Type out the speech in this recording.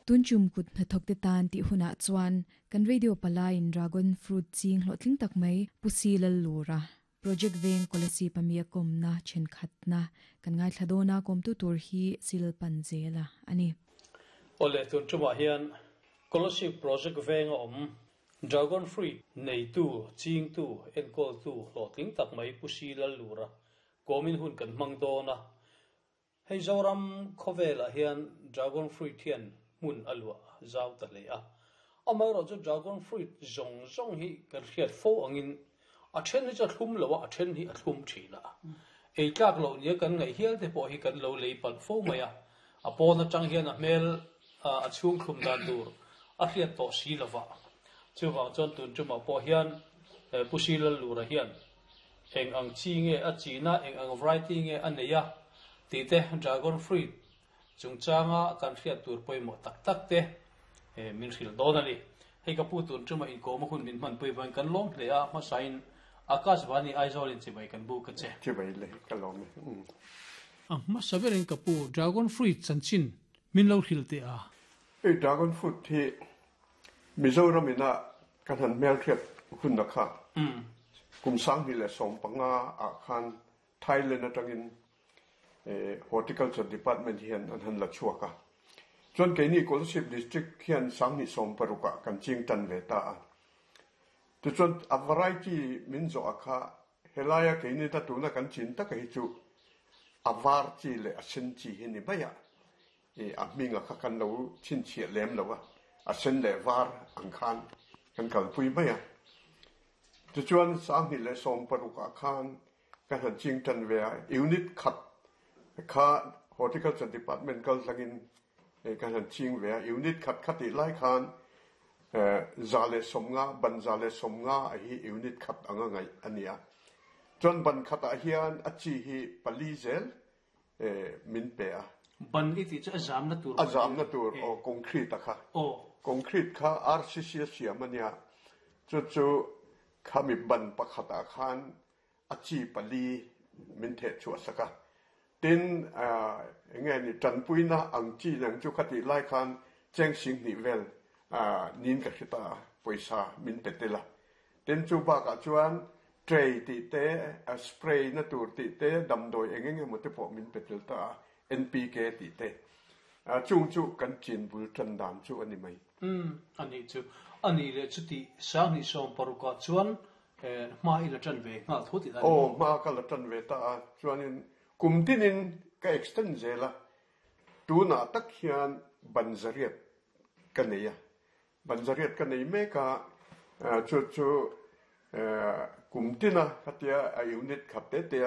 Tun tum kut hnathawk te tan tih hunah chuan kan radio palaiin dragon fruit ching hlawhtling tak mai Pu Si Lallura Project veng Kolasib ami a kawmna thenkhatna kan ngaithla dawn a, kawmtu tur hi Silpan zela a ni. Awle, tun tumah hian Kolasib Project venga awm Dragon fruit neitu, chingtu, enkawltu hlawhtling tak mai Pu Si Lallura kawmin hun kan hmang dawn a. Hei Zoram khawvelah hian dragon fruit hian hmun a luah zau ta hle a. Amaherawhchu dragon fruit zawng zawng hi kan hriat fo angin a then hi chu a thlum lo a, a then hi a thlum thin a. Ei tlak loh nia kan ngaih hial te pawh hi kan lo lei palh fo mai a. A pawn atang hian a hmel a chhung thlum dan tur a hriat tawh si lova. Chuvang chuan tun tumah pawh hian Pu Silallura hian Eng ang chi nge a china, eng ang variety nge a nei a tih te dragon fruit chungchanga kan hriat tur pawimawh tak tak te min hrilh dawn a ni. Hei ka pu tun ṭuma inkawm a hun min hmanpui vangin kan lawm hle a, hmasain Akashvani Aizawl in chibai kan bu ka che. Chibai le, ka lawm e. Umm. A hmasa berin ka pu dragon fruit chanchin min lo hrilh teh a. Hei dragon fruit hi Mizoram ina ka hnan hmelhriat hunna kha kum 2015 ah khan Thailand atangin Horticulture Department hian an han la chhuak a. Chuan keini Kolasib District hian 2016 ah kan ching tan ve ta a. Tichuan a variety min zawh a kha helaia keini ta tuna kan chin taka hi chu a var chi leh a sen chi hi ni mai a. I a hming a kha kan lo chhinchhiah lem lo a, a sen leh var ang khan kan kalpui mai a. Tichuan 2016 ah khan ka han ching tan ve a, unit khat kha Horticulture Department kal tlangin ka han ching ve a, unit khat kha tih lai khan 150, ban 150 a hi unit khat anga ngaih a ni a. Chuan ban khatah hian a chi hi pali zel min pe a. Ban i tih chu a zamna tur. A zamna tur aw concrete a kha. Aw. Concrete kha RCC a siam a nia. Chu chu khami ban pakhat ah khan a chi pali min theh chhuah sak a. Tin enge ni tanpuina ang chi nang chu khatih lai khan cheng 2000 vel nin ka hre ta a pawisa min pe tel a. Tin chu bakah chuan Tray tih te, spray na tur tih te, damdawi eng eng emaw te pawh min pe tel ta a, NPK tih te. Chung chu kan chin bul tan dan chu a ni mai. Umm, a nih chu. A nih leh chutih 2016 ah chuan hma i la tan ve nghal tho tih a ni. Aw, hma ka la tan ve ta a, chuanin kum tinin ka extend zel a, tunah tak hian ban zariat ka nei a, Ban zariat ka nei mek a, chu chu kum tina khatia a unit khat te te a.